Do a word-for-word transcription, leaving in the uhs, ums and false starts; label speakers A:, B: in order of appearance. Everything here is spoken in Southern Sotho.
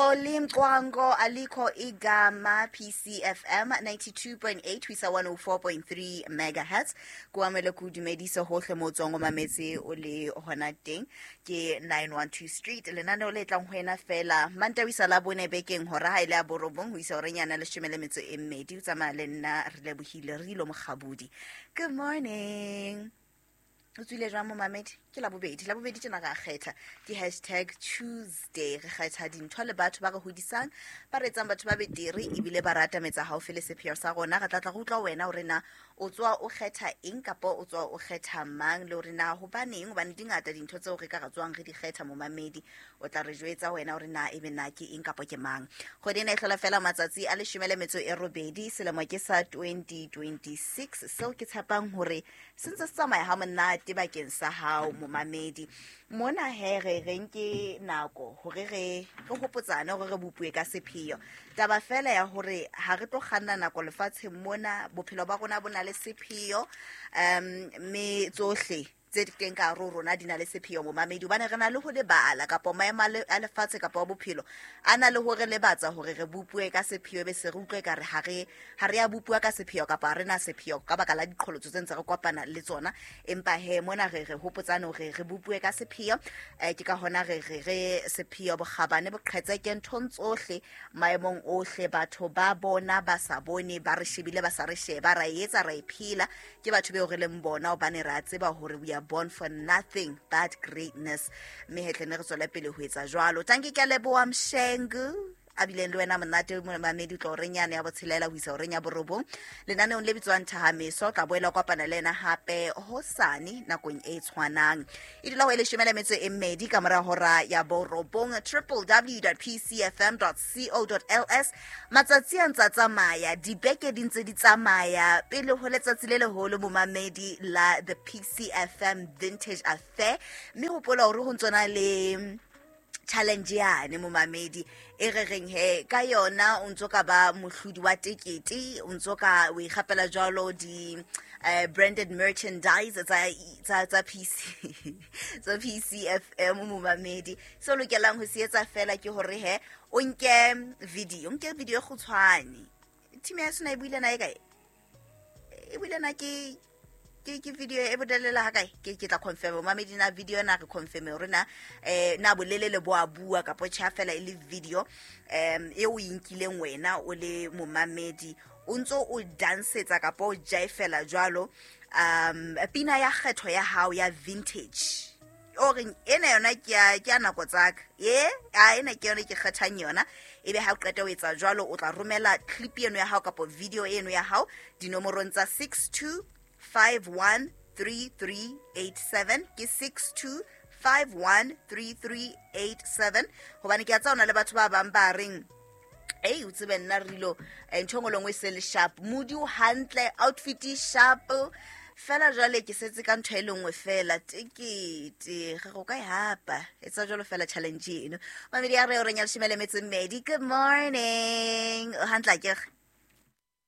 A: Xoli Mcwango alikho igama P C F M ninety-two point eight ho isa one oh four point three megahertz. Ko amele ku dumedisa hohle mo tswang o mametse o le hona teng ke nine one two Street. Lenaneo le tlang ho wena fela Mantaha ho isa Labone bekeng hora ha ile ya borobong ho isa horeng yana leshome le metso e mmedi. O tsamaya le nna re lebohile re ilo Mokgabudi. Good morning. O tswile jwang momamedi? Ke Labobedi. Labobedi tjena re a kgetha. Ke hashtag Tuesday. Re kgetha dintho le batho ba re hodisang, ba re etsang batho ba betere ebile ba rata metsa haufi le sepheo sa rona. Re tla tla re utlwa wena hore na o tswa o kgetha eng kapa o tswa o kgetha mang, le hore na hobaneng, hobane di ngata dintho tseo re ka re tswang re di kgetha momamedi. O tla re jwetsa wena hore na ebe na ke eng kapa ke mang. Kgwedi ena e hlola fela matsatsi a leshome le metso e robedi, selemo ke sa twenty twenty-six. Seo ke tshepang hore se ntse se tsamaya ha monate bakeng sa hao momamedi. Mona he re re nke nako hore re re hopotsane hore re bopue ka sepheo. Taba fela ya hore ha re tlo kganna nako lefatsheng mona, bophelo ba rona bo na le sepheo, um mme tsohle tse teng ka hare ho rona di na le sepheo momamedi, hobane re na le ho lebala kapa maemo a le-, a lefatshe kapa a bophelo a na le hore lebatsa hore re bopue ka sepheo, be se re utlwe ekare ha re, ha re a bopua ka sepheo kapa ha re na sepheo ka baka la diqholotso tse ntse re kopana le tsona. Empa he mona re re hopotsane hore re bopue ka sepheo. Eh, ke ka hona re re re sepheo bokgabane boqhetseke nthong tsohle, maemong ohle, batho ba bona ba sa bone, ba re shebile ba sa re sheba, ra e etsa ra e phela. Ke batho beo re leng bona hobane re a tseba hore we are born for nothing but greatness. Mme he tle ne re tswele pele ho etsa jwalo. Tanki ke a leboha Mshengu a bileng le wena monate momamedi, tlo horeng yane ya botshelela ho isa horeng ya borobong lenaneong le bitswang Thahameso. O tla boela o kopana le yena hape hosane nakong e tshwanang. E dula ho e leshome le metso e mmedi ka mora hora ya borobong. Triple w dot p c f m dot co dot l s. Matsatsi a ntsa tsamaya, dibeke di ntse di tsamaya pele ho letsatsi le leholo momamedi la the P C F M Vintage Affair. Mme hopola hore ho ntsona le challenge yane momamedi e re reng he ka yona o ntso ka ba mohlodi wa tekete, o ntso ka o ikgapela jwalo di, eh, branded merchandise tsa, tsa, tsa P C, tsa P C F M momamedi. Se o lokelang ho se etsa fela ke hore he o nke video, o nke video e kgutshwane. Team ya sona e buile na e kae? E buile na ke ke ke video e bodelela ha kae? Ke ke tla confirm momamedi na video na re confirm hore na, eh, na bolelele bo a bua kapa tjha fela e le video, em, e o inkileng wena o le momamedi o ntso o dansetsa kapa o jaifela jwalo, um, pina ya kgetho ya hao ya vintage. O reng ena yona ke ya, ke ya nako tsaka. Ye, a ena ke yona ke kgethang yona. Ebe ha o qeta ho etsa jwalo, o tla romela clip eno ya hao kapa video eno ya hao dinomorong tsa six two five one three three eight seven. Ke six two five one three three eight seven. Hobane ke a tseba hona le batho ba bang ba reng, ei, o tsebe nna re ilo, eh, ntho e nngwe le nngwe e se le sharp, mood o hantle, outfit e sharp fela jwale ke setse ka ntho e le nngwe fela, tekete re go ka e hapa. Etsa jwalo fela challenge eno. Mamedi ya re o reng ya leshome le metso e mmedi. Good morning. O hantle akere?